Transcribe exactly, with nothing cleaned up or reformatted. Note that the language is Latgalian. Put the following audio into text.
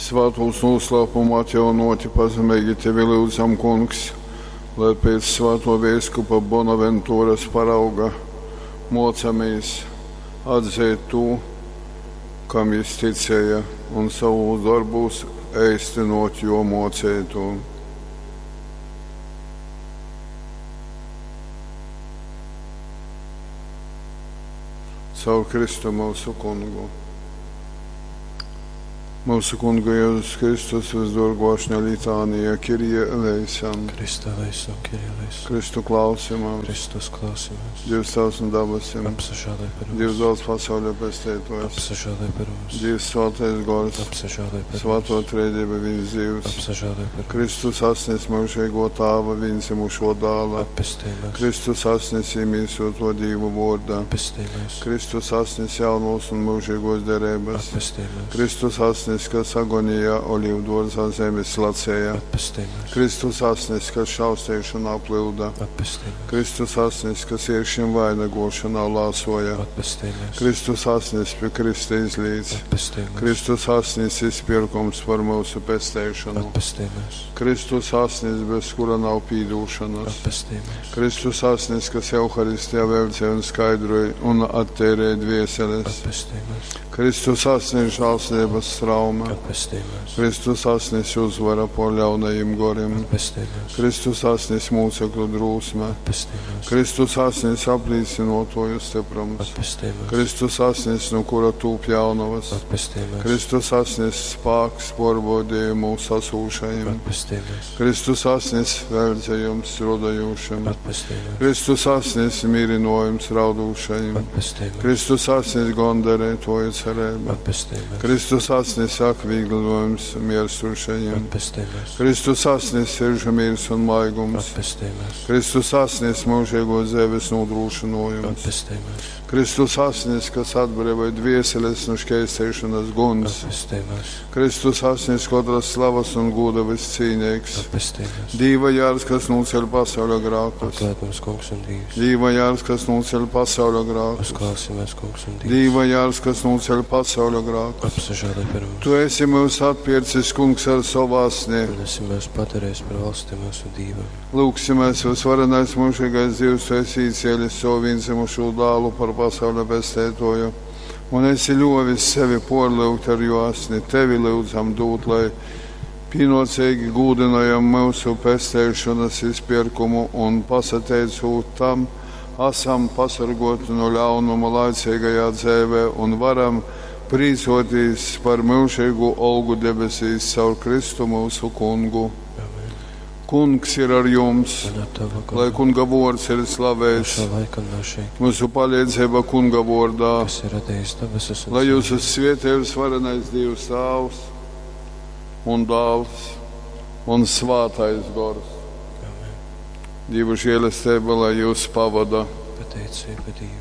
Svātūs noslēpumu atjaunoti pazemeigi tevi lyudzam, Kungs, lai pēc svātō veiskupa Bonaventuras parauga mōcamīs atzeit tū, kam jys ticēja, un sovūs dorbūs eistynōt jō mōceitū. Caur Kristu myusu Kungu. Mūsu Kunga Jēzus Kristus visdorgo ašņa litānija, Kyrie eleison. Christe eleison, Kyrie eleison. Kristu klausimās. Kristus klausimies. Dievs Tēvs un dabasim. Apsažāloj par mums. Dievs dāls pasauļa pestītājs. Apsažāloj par mums. Dievs svētais gors. Apsažāloj par Svēto mums. trejība viens Dievs. Apsažāloj par mums. Kristus asnis mūžīgo tāva vienzimušo dāla. Atpestī mūs. Kristus asnis iemīsoto Dievu vārdā. Atpestī mūs. Kristus asnis jaunos un mūžīgos derības. Atpestī mūs. Kristus asnis, kas agonijā olīvdārzā zemes lacēja. Atpestī mūs. Kristus asnis, kas šaustīšanā plūda. Atpestī mūs. Kristus asnis, kas iekšņiem vainagošanā lāsoja. Atpestī mūs. Kristus asnis pie Krista izlīdz. Atpestī mūs. Kristus asnis izpirkums par mūsu pesteišanu. Atpestī mūs. Kristus asnis, bez kura nav pīdūšanas. Atpestī mūs. Kristus asnis, kas Euharistijā velcē un skaidroja un attērē dvieseles. Atpestī mūs. Kristus asnis žēlsirdības strauma. Atpestī mūs. Kristus asnis uzvara pār ļaunajiem goriem. Atpestī mūs. Kristus asnis mūcekļu drūsme. Atpestī mūs. Kristus asnis aplīcinotoju stiprums. Atpestī mūs. Kristus asnis, no kura tūp jaunavas. Atpestī mūs. Kristus asnis spāks porbaudījumu sasūšajiem. Atpestī mūs. Kristus asnis veldzējums rodajušam. Atpestī mūs. Kristus asnis mirinojums raudūšajiem. Atpestī mūs. Kristus asnis gondarētoju cerība. Atpestī mūs. Kristus asnis akvīglinojums mierstušajiem. Atpestī mūs. Kristus asnis siržu miers un maigums. Atpestī mūs. Kristus asnis mūžīgo dzīves nodrošinojums. Atpestī mūs. Kristus asnis, kas atbrīvoja dvieseles no šķērstīšanas guns. Atpestī mūs. Kristus asnis, katras slavas un goda viscīnīgs. Atpestī mūs. Dīva jārs, kas nuceļ pasauļa grēkus. Atlaid mums, Kungs un Dievs. Dīva jārs, kas nuceļ pasauļa grēkus. Uzklausimies, Kungs un Dievs. Dīva jārs, kas nuceļ pasauļa grēkus. Apsažāloj par mums. Tu esi mūs atpircis, Kungs, ar savu asni. Un esi mūs padarījis par valsti mūsu Dievam. Lūgsimies, visvarenais mūžīgais Dievs, tu esi īcēlis savu vienzimušo dālu par pasauļa pestētoju, un esi ļovis sevi porlūgt ar jo asni. Tevi lūdzam dūt, lai pienācīgi gūdinājam mūsu pestēšanas izpirkumu un pasateicot tam, esam pasargoti no ļaunuma laicīgajā dzīvē un varam prīcoties par mūžīgu olgu debesīs caur Kristu mūsu kungu. Amen. Kungs ir ar jums, Un ar tavu lai garu. kunga vārds ir No slavēts, šā laika un no šī, mūsu palīdzība kunga vārdā, kas ir radījis debesis un lai zemi. jūs esat svētījums varenais Dievs Tēvs un Dāls un Svātais Gors. Amen. Dievu žēlastība, lai jūs pavada. Pateicība Dievam.